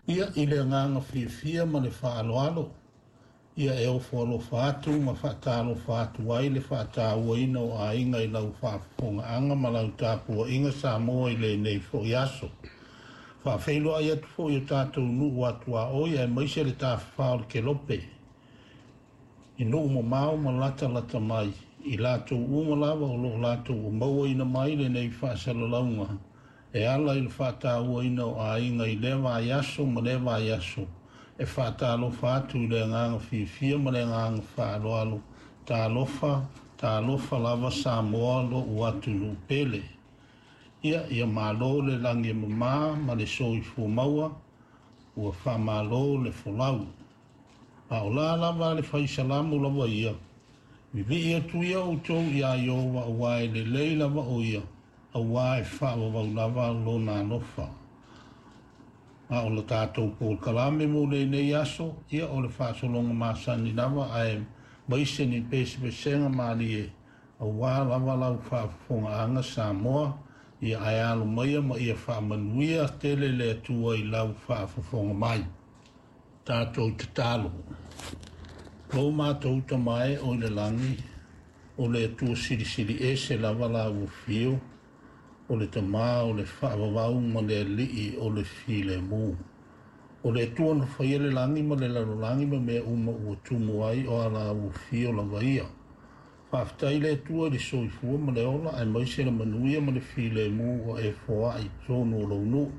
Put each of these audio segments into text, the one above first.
Ia, i le agaga fiafia ma le faaaloalo, ia e ofo alofa atu ma faatalofa atu ai le faatauaina o aiga i lau faafofogaaga ma lau tapuaiga Samoa i lenei foi aso. Faafeiloai atu foi i o tatou nuu atuaoi aemaise le tafafa o le Kelope, i nuu mamao ma latalata mai, i latou uma lava o lo o latou mauaina mai lenei faasalalauga e ala i le faatauaina o aiga i lea vaiaso ma lea vaiaso, e faatalofa atu i le agaga fiafia ma le agaga faaaloalo. Talofa, talofa lava Samoa lo'u atunuu pele. Ia, ia malo le lagi e mama ma le soifua maua, ua faamalo le folau. A o la lava le fai salamo lava ia, vivii atu ia outou iā Ieova auā e lelei lava o ia, auā e faavavau lava lona alofa. A o le tatou polokalame mo lenei aso, ia o le faasologa masani lava aemaise ni pesepesega malie auā lava lau faafofogaaga Samoa, ia ae alo maia ma ia faamanuia tele le Atua i lau faafofoga mai. Tatou tatalo. Lo matou Tama e o i le lagi, o le Atua silisili ese lava lau afio, o le Tama o le faavavau ma le Alii o le filemu. O le Atua na faia le lagi ma le lalolagi ma mea uma ua tumu ai, o ala afio lava ia. Faafetai le Atua i le soifua ma le ola, aemaise le manuia ma le filemu ua e foai i totonu o lou nuu.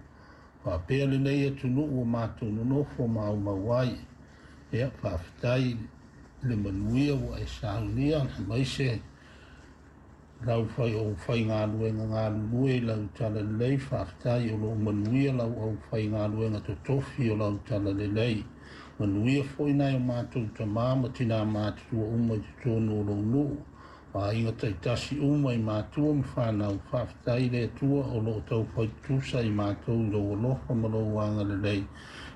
Faapea lenei atunuu ua matou nonofo ma aumau ai. Ia, faafetai le manuia ua e saunia, aemaise lau fai o faigaluega galulue i lau talalelei. Faafetai o loo manuia lau aufaigaluega totofi o lau talalelei. Manuia foi nai o matou tamā ma tinā matutua uma i totonu o lou nuu, aiga taitasi uma i matua ma fanau. Faafetai i le Atua o loo taufai tutusa i matou i lou alofa ma lou agalelei.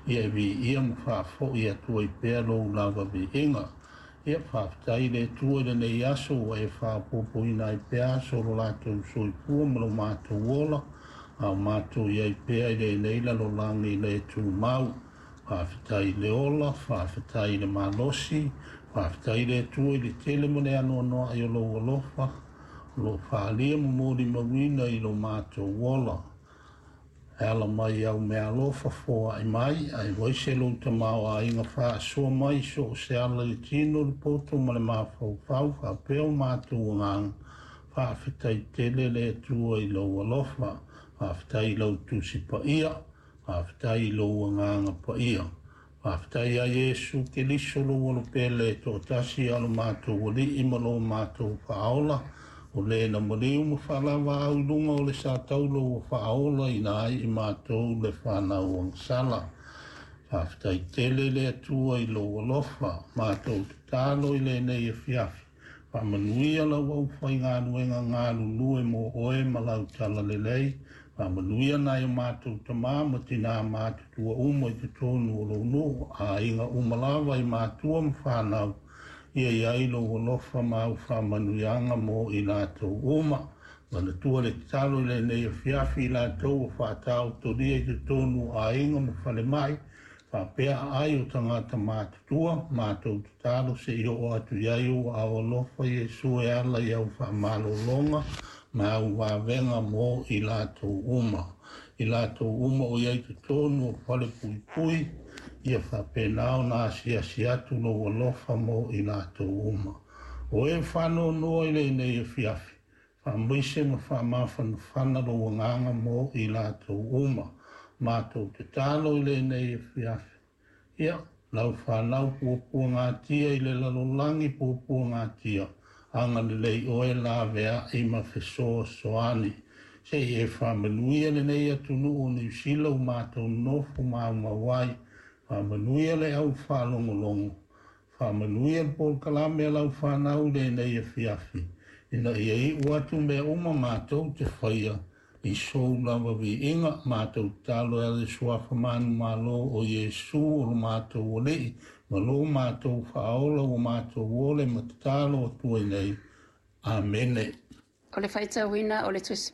Ia e viia ma faafoi atu ai pea lou lava viiga. Ia, faafetai i le Atua i lenei aso ua e faaopoopoina ai pea aso o lo latou soifua ma lo matou ola, a o matou i ai pea i lenei lalolagi le tumau. Faafetai i le ola, faafetai i le malosi, faafetai i le Atua i le tele ma le anoanoai o lou alofa, o loo faaalia ma molimauina i lo matou ola. E ala mai au mea alofa foai mai, aemaise lou tamaoaiga faasoa mai so o se ala i le tino, le poto ma le mafaufau, faapea o matou agaga. Faafetai tele le Atua i lou alofa, faafetai i lau tusi paia, faafetai i lou agaga paia. Faafetai ia Iesu Keriso lou Alo pele e toatasi a lo matou Alii ma lo matou Faaola, o le na maliu ma faalavaau i luga o le sataulo ua faaolaina ai i matou le fanau agasala. Faafetai tele le Atua i lou alofa. Matou tatalo i lenei afiafi. Faamanuia lau aufaigaluega galulue mo oe ma lau talalelei. Faamanuia nai o matou tamā ma tinā matutua uma i totonu o lou nuu, aiga uma lava i matua ma fanau. Ia i ai lou alofa ma au faamanuiaga mo i latou uma. Manatua le tatalo i lenei afiafi i latou ua faataotolia i totonu o aiga ma falemai, faapea aai o tagata matutua. Matou tatalo se i oo atu i ai ou aao alofa Iesu e ala i au faamalologa ma au vavega mo i latou uma. I latou uma o i ai totonu o fale puipui, ia faapena ona asiasi atu lou alofa mo i latou uma. O e faanoanoa i lenei afiafi, faamaise ma faamafanafana lou agaga mo i latou uma. Matou tatalo i lenei afiafi. Ia, lau fanau puapuagatia i le lalolagi puapuagatia, agalelei oe laveai ma fesoasoani. Se i e faamanuia lenei atunuu o Niu Sila ua matou nonofo ma aumau ai. Faamanuia le au faalogologo. Faamanuia le polokalame a lau fanau i lenei afiafi, ina ia iu atu mea uma matou te faia i sou lava viiga. Matou tatalo e ala i le suafa manumalo o Iesu o lo matou Alii ma lo matou Faaola ua matou ole ma tatalo atu ai nei. Amene. O le faitauina o le Tusi.